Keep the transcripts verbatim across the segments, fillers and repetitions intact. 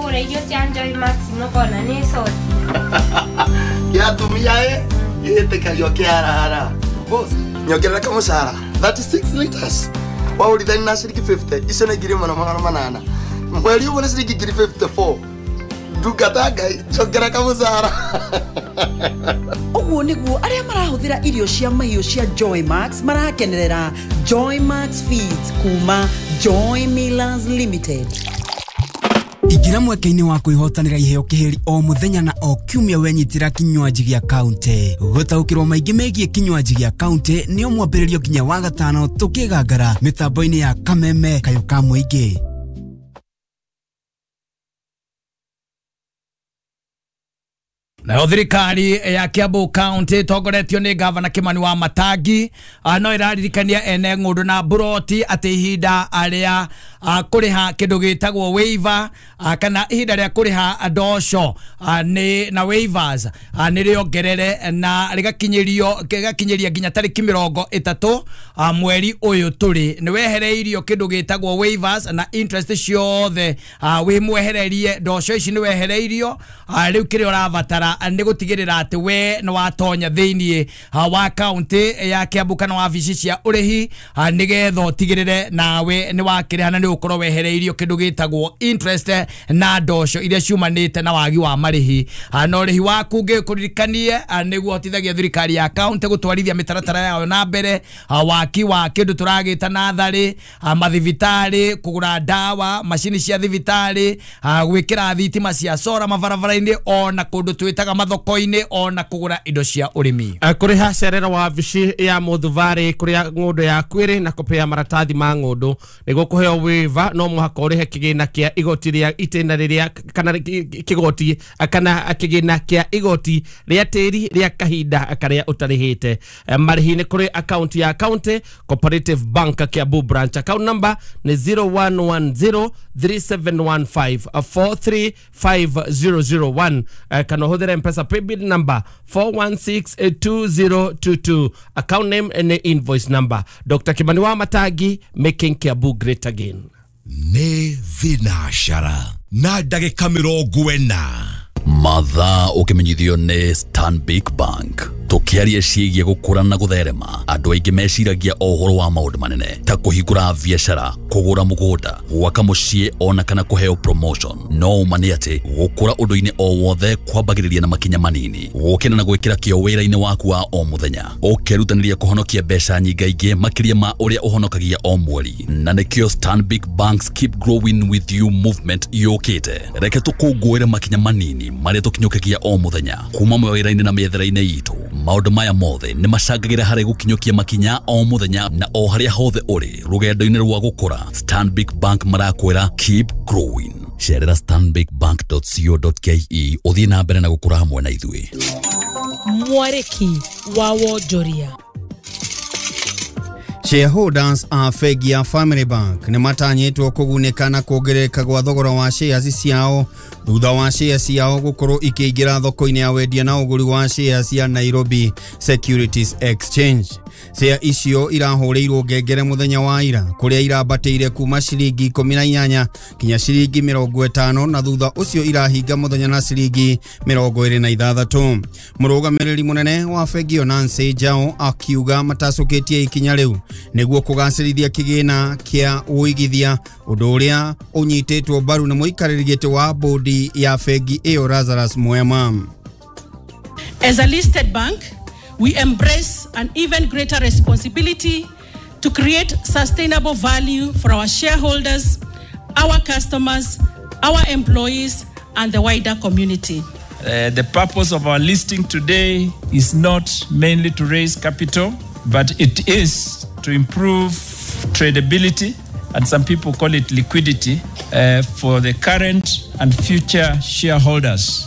Mwagũra irio cia Joy Max mũkona nĩ coti. Kĩa atumia ĩ gĩtĩkagio kĩarara. Boss, nyongerera kamũcara thirty-six liters. Waũrithani na ciringi fifty, icio nĩ ngiri ĩmwe na magana manana. Mweri ũmwe nĩ ciringi ngiri fifty-four. Ndungata Ngai, njongera kamũcara. Ũguo nĩguo arĩa marahũthĩra irio cia mahiũ cia Joy Max marakenerera Joy Max Feeds kuma Joy Millers Limited. Ingĩra mweke-inĩ wa kwĩhotanĩra iheo kĩhĩri o mũthenya na o kiumia wenyitĩra kinywaji gĩa kaunti. Gũtaũkĩrwo maingĩ megiĩ kinywaji gĩa kaunti nĩ o mwambĩrĩrio nginya wa gatano tũkĩgangara mĩtambo-inĩ ya Kameme Kayo ka Mũingĩ. Nayo thirikari ya Kiambu County tongoretio nĩ gavana Kimani wa Matangi no ĩraririkania ene ng'ũndũ na mburoti atĩ ihinda rĩa kũrĩha kĩndũ gĩtagwo waiver kana ihinda rĩa kũrĩha ndoco nĩ na waivers nĩ rĩongerere na rĩgakinyĩrio rĩgakinyĩria nginya tarĩki mĩrongo ĩtatũ mweri ũyũ tũrĩ. Nĩ wehereirio kĩndũ gĩtagwo waivers na interest ciothe wĩ mwehererie ndoco ici nĩ wehereirio rĩu kĩrĩa ũrabatara nĩ gũtigĩrĩra atĩ we nĩ watonya thĩinĩ wa county ya Kiambu kana wabici cia ũrĩhi nĩgetha ũtigĩrĩre nawe nĩ wakĩrĩha na nĩ ũkorwo wehereirio kĩndũ gĩtagwo interest na ndoco iria ciumanĩte na wagi wa marĩhi. Na ũrĩhi waku ngĩkũririkanie nĩguo hotithagia thirikari ya county gũtwarithia mĩtaratara yayo na mbere, waki wa kĩndũ tũragĩta natharĩ, mathibitarĩ, kũgũra ndawa, macini cia thibitarĩ, gwĩkĩra thitima cia sora mabarabara-inĩ ona kũndũ twĩtaga mathoko-inĩ ona kũgũra indo cia ũrĩmi. Kũrĩha cerera wabici ya Mũthubarĩ kũrĩa ng'ũndũ yaku ĩrĩ na kũpea maratathi ma ng'ũndũ nĩguo kũheo waiver no mũhaka ũrĩhe kĩgĩna kĩa igoti rĩa itĩna rĩrĩa kana kĩgoti kana kĩgĩna kĩa igoti rĩa tĩri rĩa kahinda karĩa ũtarĩhĩte. Marĩhi nĩ kũrĩ account ya County Cooperative Bank Kiambu branch, account number nĩ zero one one zero three seven one five four three five zero zero one kana ũhũthĩre M-Pesa paybill number four one six two zero two two, account name and invoice number. Doctor Kimani wa Matangi, making Kiambu great again. Nĩ thinacara na ndagĩka mĩrongo ĩna mathaa ũkĩmenyithio nĩ Stanbic Bank. Tũkĩaria ciĩgiĩ gũkũra na gũtherema, andũ aingĩ meciragia o ũhoro wa maũndũ manene ta kũhingũra biacara, kũgũra mũgũnda, gwaka mũciĩ ona kana kũheo promotion. No ũma nĩ atĩ gũkũra ũndũ-inĩ o wothe kwambagĩrĩria na makinya manini, gũkĩra na gwĩkĩra kĩo wĩra-inĩ waku wa o mũthenya, ũkerutanĩria kũhonokia mbeca nyingaingĩ makĩria ma ũrĩa ũhonokagia o mweri. Na nĩkĩo Stanbic Bank's Keep Growing With You movement yũkĩte. Reke tũkũngũĩre makinya manini marĩa tũkinyũkagia o mũthenya kuma mawĩra-inĩ na mĩethere-inĩ itũ. Maũndũ maya mothe nĩ macangagĩra harĩ gũkinyũkia makinya o mũthenya na o harĩa hothe ũrĩ rũgendo-inĩ rwa gũkũra. Stanbic Bank marakwĩra keep growing. Cerera stanbic bank dot co dot ke ũthiĩ na mbere na gũkũra hamwe na ithuĩ. Mwarĩki wa wonjoria. Shareholders a bengi ya Family Bank nĩ matanyĩtwo kũgunĩka na kuongerereka gwa thogora wa shares ciao thutha wa shares ciao gũkorwo ikĩingĩra thoko-inĩ ya wendia na ũgũri wa shares ya Nairobi Securities Exchange. Share icio irahũrĩirwo ngengere mũthenya wa ira kũrĩa irambatĩire kuma ciringi ikũmi na inyanya kinya ciringi mĩrongo ĩtano na thutha ũcio irahinga mũthenya na ciringi mĩrongo ĩrĩ na ithathatũ. Mũrũgamĩrĩri mũnene wa bengi ĩyo Nancy Njau akiuga matacũkĩtie ikinya rĩu nĩguo kũgacĩrithia kĩgĩna kĩa ũigithia, ũndũ ũrĩa ũnyitĩtwo mbaru nĩ mũikarĩri gĩtĩ wa bodi ya bengi ĩyo Lazarus Mwema. As a listed bank, we embrace an even greater responsibility to create sustainable value for our shareholders, our customers, our employees, and the wider community. Uh, the purpose of our listing today is not mainly to raise capital, but it is to improve tradability, and some people call it liquidity, uh, for the current and future shareholders.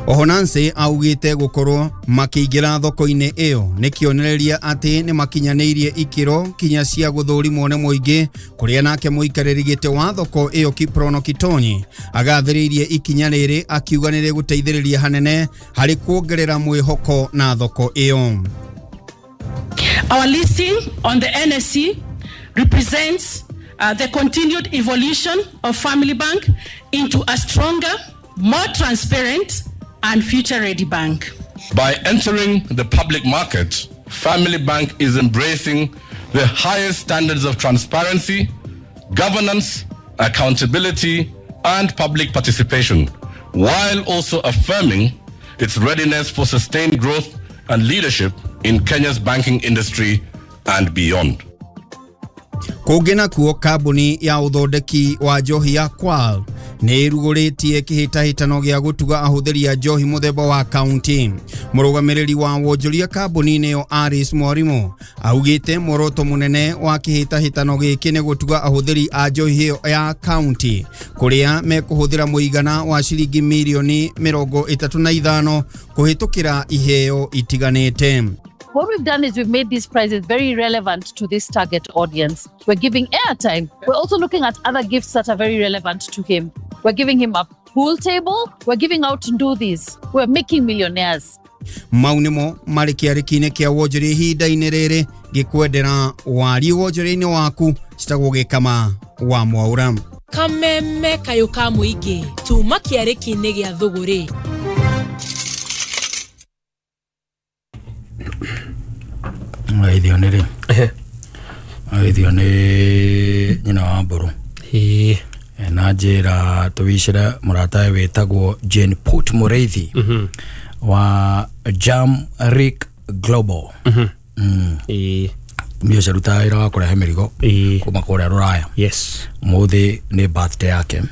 Oho Nancy augite gukorwo makiingira thoko-inĩ ĩyo nĩ kĩonereria atĩ nĩ makinyanĩirie ikĩro kinya cia gũthũrimwo nĩ mũingĩ, kũrĩa nake mũikarĩri gĩtĩ wa thoko ĩyo Kiprono Kitonyi agathĩrĩirie ikinya rĩrĩ akiuga nĩ rĩgũteithĩrĩria hanene harĩ kuongerera mwĩhoko na thoko ĩyo. Our listing on the N S E represents uh, the continued evolution of Family Bank into a stronger, more transparent, and future-ready bank. By entering the public market, Family Bank is embracing the highest standards of transparency, governance, accountability, and public participation, while also affirming its readiness for sustained growth and leadership in Kenya's banking industry and beyond. Kũngĩ nakuo kambuni ya ũthondeki wa njohi ya Kwal nĩ ĩrugũrĩtie kĩhĩtahĩtano gĩa gũtuga ahũthĩri a njohi mũthemba wa kaunti. Mũrũgamĩrĩri wa wonjoria kambuni-inĩ ĩyo Aris Mwarimo augĩte muoroto mũnene wa kĩhĩtahĩtano gĩkĩ nĩ gũtuga ahũthĩri a njohi ĩyo ya kaunti kũrĩa mekũhũthĩra mũigana wa ciringi mirioni mĩrongo ĩtatũ na ithano kũhĩtũkĩra iheo itiganĩte. What we've done is we've made these prizes very relevant to this target audience. We're giving airtime. We're also looking at other gifts that are very relevant to him. We're giving him a pool table. We're giving out nduthis. We're making millionaires. Mau nĩmo marĩ kĩarĩki-inĩ kĩa wonjoria ihinda-inĩ rĩrĩ ngĩkwendera wariĩ wonjoria-inĩ waku citagwo Gĩkama wa Mwaũra. Kameme kayũ ka mũingĩ tuma kĩarĩki-inĩ gĩa thũgũrĩ. Ithio nĩ rĩ ithio nĩ nyina wa mbũrũ na njĩra tũwicĩre mũratawe wĩtagwo Jane Put Mũrĩithi wa Jam Rick Global. Tumia ũcio arutaga wĩra wa kũrehe mĩrigo kuma kũrĩa Rũraya. Mũthĩ nĩ birthday yake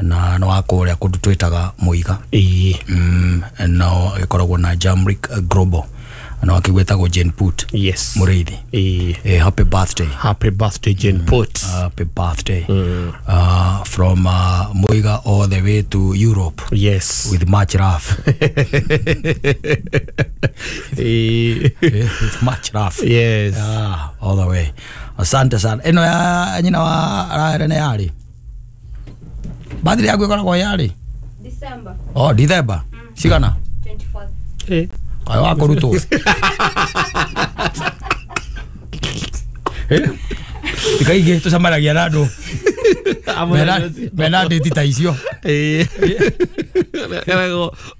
na no wa kũrĩa kũndũ twĩtaga Mũiga no ĩkoragwo na Jam Rick Global na wakigwetagwo Jane Put. Yes. Mũrĩithi. Eh, happy birthday. Happy birthday Jane mm. Put. Happy birthday. Mm. Uh, from uh, Muiga all the way to Europe. Yes. With much love. With much love. Yes. Ah, all the way. Asante sana. Eno ya nyina wa arahere nĩ yarĩ. Birthday yaku ĩkoragwo yarĩ? December. Oh, December. Mm. Cigana? twenty-fourth. Eh. Kaĩ wakũrutwo. Ikaingĩ tũcemanagia na andũ mena ndĩti ta icio.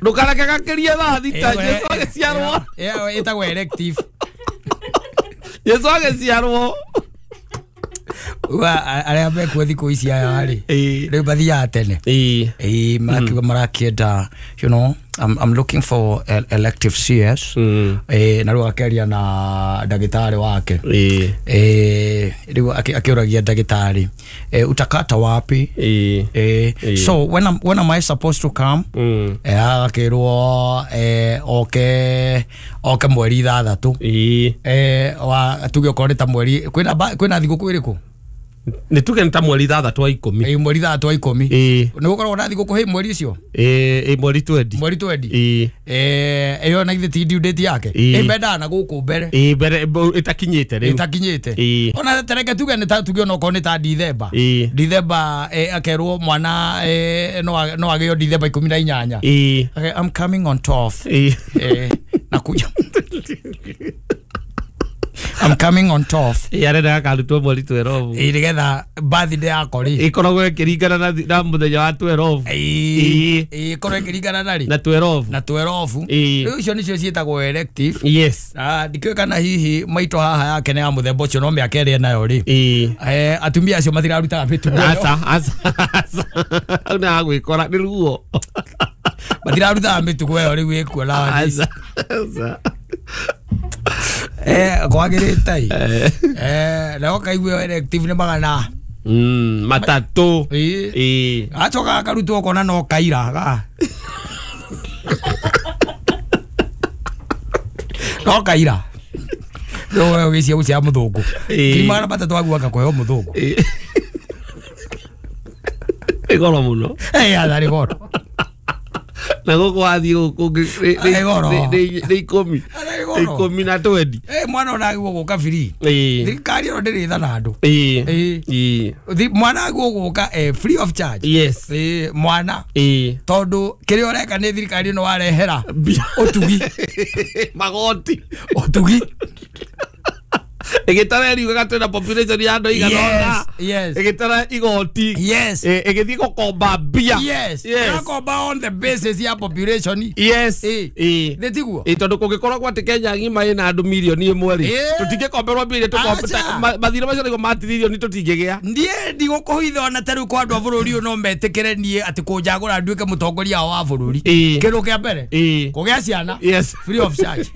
Ndũkareke gakĩrie thaa thita Jesu agĩciarwo. Ĩyo ĩtagwo elective. Jesu agĩciarwo. Arĩa mekuo thikũ ici aya rĩ rĩu mathiaga tene. Ĩĩ makiuga marakĩenda you know I'm, I'm looking for elective C S. Mm. Eh, na rĩu akĩaria na ndagĩtarĩ wake. Eh. Eh, rĩu akĩũragia ndagĩtarĩ eh, utakata wapi? Eh. Eh, so when am, when am I supposed to come? Mm. Eh, akĩrwo eh, oke oke mweri ithathatũ. Eh. Eh, wa tuge okorwo nĩ ta mweri kwĩna kwĩna thigũkũ ĩrĩkũ? Nĩ tuge nĩ ta mweri ithathatũ wa ikũmi. Ĩĩ mweri ithathatũ wa ikũmi. Ĩĩ. Nĩ gũkoragwo na thigũkũ hĩ mweri ũcio? Ĩĩ, ĩĩ mweri twendi. Mweri twendi. Ĩĩ. Eh, ĩyo na githĩ ti due date yake? Ĩĩ mendaga na gũkũ mbere. Ĩĩ mbere ĩtakinyĩte rĩu. Ĩtakinyĩte. Ĩĩ. Ona tereke tuge nĩ ta tuge ona okorwo nĩ ta Dithemba. Ĩĩ. Dithemba eh, akerwo mwana eh, no no agĩo Dithemba ikũmi na inyanya. Ĩĩ. Okay, I'm coming on twelfth. Ĩĩ. Eh, nakuja. I'm coming on twelfth. Yarenda akarutwo mweri twelve. Ĩĩ nĩgetha birthday yakwa rĩ ĩkoragwo ĩkĩringana na na mũthenya wa twelve. Ĩĩ ĩkorwo ĩkĩringana na rĩ na twelve. Na twelve. Rĩu icio nĩcio ciĩtagwo elective. Yes. Ah, ndikĩũĩ kana hihi maitũ haha yake nĩ ya mũthemba ũcio no mĩaka ĩrĩa enayo rĩ. Ĩĩ. Eh, atumia acio matirarutaga mĩtugo ĩyo. Aca, aca. Hau nĩ hagwĩkora nĩ ruo. Matirarutaga mĩtugo ĩyo rĩu ĩkuo na Aca. Aca. Eh, kwagĩrĩte ĩ. Eh, na ũkaigua elective nĩ magana mm, matatũ. Ĩĩ. Ĩĩ. Gacoka gakarutwo ũkona no kaira ga. No kaira. No wewe ũgĩcia gũcia mũthũngũ. Ngiri magana matatũ aguo agakũheo mũthũngũ. Ĩĩ. Ĩ goro mũno. Ĩ atha nĩ goro. Na gũkũ wathiĩ gũkũ nĩ ikũmi. Ikũmi na twendi. Eh, mwana ona agĩrĩirwo gũka free. Ĩĩ. Thirikari ĩno ndĩrĩ tha na andũ. Ĩĩ. Ĩĩ. Ĩĩ. Mwana agĩrĩirwo gũka eh, free of charge. Yes. Ĩĩ, mwana. Ĩĩ. Tondũ kĩrĩa ũreka nĩ thirikari ĩno warehera ũtugi. Magoti. Ũtugi. Ĩgĩtara ĩriugaga twĩna population ya andũ igana ũna. Yes. Ĩgĩtara igoti. Yes. Ĩgĩthiĩ gũkomba mbia. Yes. Ĩrakomba on the basis ya population. Yes. Nĩ tiguo? Ĩ tondũ kũngĩkorwo atĩ Kenya ng'ima ĩna andũ mirioni ĩmwe rĩ, tũtingĩkomberwo mbia iria tũkomba mathirĩ macio nĩguo ma tiririoni tũtingĩgĩa. Ndiĩ ndigũkũhitha ona ta rĩu kwa andũ a bũrũri ũyũ no metĩkĩre niĩ atĩ kũnjagũra nduĩke mũtongoria wao wa bũrũri. Kĩndũ kĩa mbere kũgĩa ciana. Yes. Free of charge.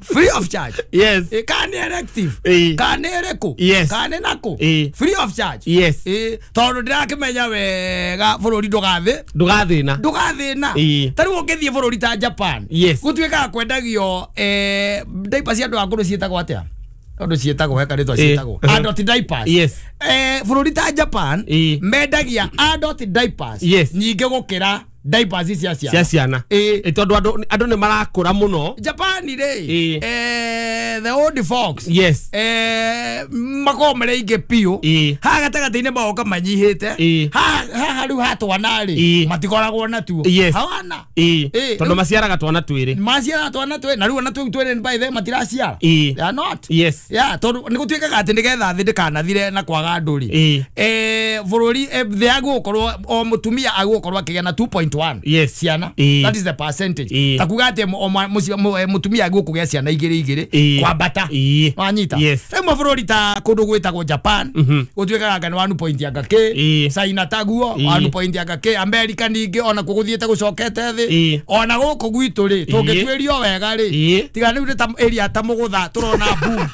Free of charge. Yes. Kana nĩ elective. Kana nĩ ĩrĩkũ. Yes. Kana nĩ nakũ. Free of charge. Yes. Tondũ ndĩrakĩmenya wega bũrũri ndũgathĩ ndũgathĩna ndũgathĩna. Ta rĩu ũngĩthiĩ bũrũri ta Japan gũtuĩkaga kwendagio diapers cia andũ akũrũ ciĩtagwo atĩa? Tondũ ciĩtagwo he karĩtwa ciĩtagwo adult diapers. Yes. Eh, bũrũri ta Japan mendagia adult diapers nyingĩ gũkĩra diapers cia ciana. Cia ciana. Ĩ tondũ andũ andũ nĩ marakũra mũno. Japan rĩ, eh, the old folks. Yes. Eh, makoragwo marĩ aingĩ biũ. Haha gatagatĩ-inĩ magoka manyihĩte. Haha rĩu ha twana rĩ, matikoragwo natuo. Hawana. Tondũ maciaraga twana twĩrĩ. Maciaraga twana twĩrĩ na rĩu ona tũu twĩrĩ by the matiraciara. They are not. Yes. Yeah, tondũ nĩ gũtuĩkaga atĩ nĩgetha thĩ ndĩkanathire na kwaga andũ rĩ. Eh, bũrũri thĩ agũkorwo o mũtumia agũkorwo akĩgĩa na two point one. Yes. Ciana. That is the percentage. Ta kuga atĩ mũtumia agũkũgĩa ciana igĩrĩ igĩrĩ kwambata. Wanyita. Rĩu mabũrũri ta kũndũ gwĩtagwo Japan gũtuĩkaga anga nĩ one point anga kĩ, China taguo one point anga kĩ, America ningĩ ona kuo gũthiĩte gũcokete thĩ. Ona gũkũ gwitũ rĩ tũngĩtuĩrio wega rĩ, tiga rĩu nĩ ta area ta Mũgũtha tũrona boom.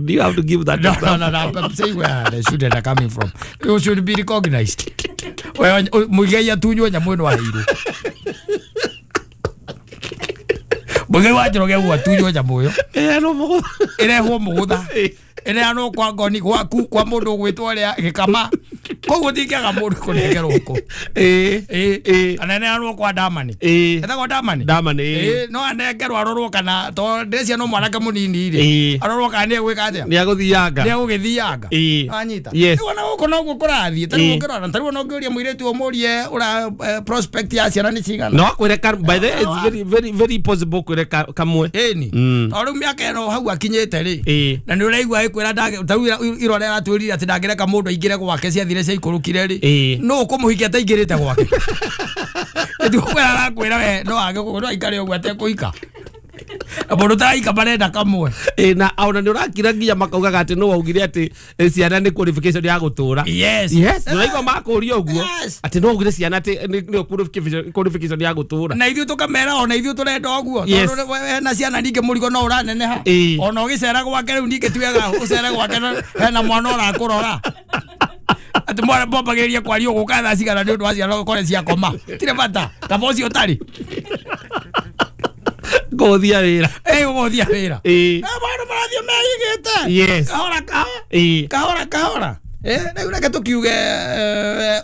Do you have to give that? No, no, no, no. I'm saying where the students are coming from. You should be recognized. Well, Muigai atunywo nyamũ ĩno aheirwo. Muigai wa Njoroge ũguo atunywo nyamũ ĩyo. Ĩheanwo Mũgũtha. Ĩrehwo Mũgũtha. Ĩneanwo kwa ngoni gwaku kwa mũndũ ũgwĩtwo ũrĩa Gĩkama. Koguo tingĩaga mũndũ kũnengerwo kũ. Ĩĩ. Ĩĩ. Kana ĩneanwo kwa Damani. Ĩĩ. Etagwo Damani? Damani. Ĩĩ, no anengerwo arorwo kana tondũ ndĩreciria no mwanake mũnini rĩ. Arorwo kana nĩ egwĩka atĩa? Nĩ egũthianga. Nĩ egũgĩthianga. Ĩĩ. Wanyita. Yes. Rĩu ona gũkũ noguo kũrathiĩ. Ta rĩu ũngĩrora, ta rĩu ona ũngĩũria mũirĩtu ũmũrie ũra prospect ya ciana nĩ cigana. No akwĩre ka, by the way, it's very very very possible kwĩre kamwe. Ĩni. Tondũ rĩu mĩaka ĩno hau akinyĩte rĩ. Ĩĩ. Na nĩ ũraigua ĩkwĩra ndangĩ, ta rĩu irore aratwĩrire atĩ ndangĩreka mũndũ aingĩre gwake ciathire ciaikũrũkire rĩ. Nũ ũkũmũhikia ataingĩrĩte gwake? Ĩtigũkwĩra arakwĩra we no age no aikare ũguo atekũhika. Mũndũ ũtaraika marenda kamwe. Ĩ na ona nĩ ũrakira nginya makaugaga atĩ nũ waugire atĩ ciana nĩ qualification ya gũtũra. Yes. Yes, nĩ ũraigua makũria ũguo atĩ nũ waugire ciana atĩ nĩ qualification ya gũtũra. Na ithuĩ tũkamera ona ithuĩ tũrenda ũguo tondũ hena ciana ningĩ mũrigo no ũraneneha. Ona ũgĩcera gwake rĩu ningĩ ti wega ũcere gwake hena mwana ũrakũrora. Atĩ mwana mbambagĩrĩria kwaria ũgũka thaa cigana nĩ ũndũ wa ciana ũkore ciakoma. Tirĩ bata kaba ũcio ũtarĩ. Gũthia wĩra. Ĩ gũthia wĩra. Ĩ. Maũndũ marathiĩ meigĩte. Yes. Kahora kahora. Ĩ. Kahora kahora. Eh, rĩu reke tũkiuge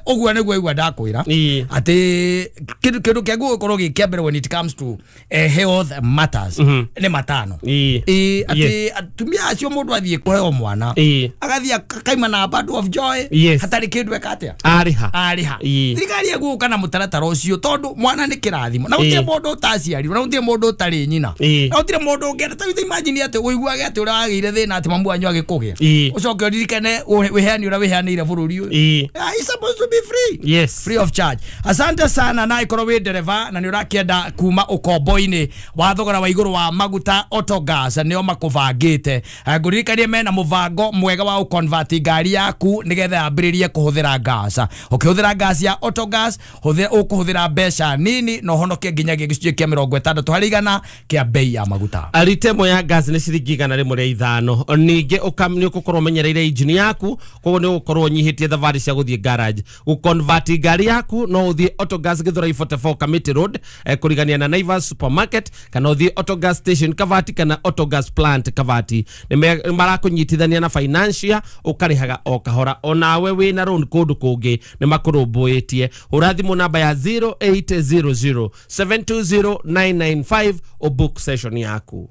ũguo nĩguo igua ndakwĩra atĩ kĩndũ kĩndũ kĩa gũgĩkorwo gĩ kĩa mbere when it comes to health matters nĩ matano. Ĩ atĩ atumia acio mũndũ athiĩ kũheo mwana agathiĩ akaima na bundle of joy hatarĩ kĩndũ eka atĩa arĩha arĩha. Thirikari ĩgũka na mũtaratara ũcio tondũ mwana nĩ kĩrathimo na gũtirĩ mũndũ ũtaciarirwo na gũtirĩ mũndũ ũtarĩ nyina na gũtirĩ mũndũ ũngĩenda. Ta rĩu imagine atĩ ũiguage atĩ ũrĩa wagĩire thĩna atĩ mamu wanyu agĩkũgĩa ũcoke ũririkane wĩheani ũrĩa wĩheanĩire bũrũri ũyũ. It's supposed to be free. Yes. Free of charge. Asante sana na ikorwo wĩ ndereba na nĩ ũrakĩenda kuma ũkombo-inĩ wa thogora wa igũrũ wa maguta Autogas nĩo makũbangĩte. Ngũririkanie mena mũbango mwega wa ũconvert ngari yaku nĩgetha yambĩrĩrie kũhũthĩra gas. Ũkĩhũthĩra gas ya Autogas ũkũhũthĩra mbeca nini na ũhonokie nginyagia gĩcunjĩ kĩa mĩrongo ĩtandatũ harĩ igana kĩa bei ya maguta. Rita ĩmwe ya gas nĩ ciringi igana rĩmwe rĩa ithano. Ningĩ nĩ ũgũkorwo ũmenyereire injini yaku koguo nĩ ũgũkorwo ũnyihĩtie thabarĩ cia gũthiĩ garage. Gũconvert ngari yaku no ũthiĩ Autogas Githurai forty-four Kamiti Road kũrigania na Naivas Supermarket kana ũthiĩ Autogas Station Kavati kana Autogas Plant Kavati. Nĩ marakũnyitithania na financial ũkarĩhaga o kahora onawe wĩna loan kũndũ kũngĩ nĩ makũrũmbũĩtie. Hũra thimũ namba ya zero eight zero zero seven two zero nine nine five o book session yaku.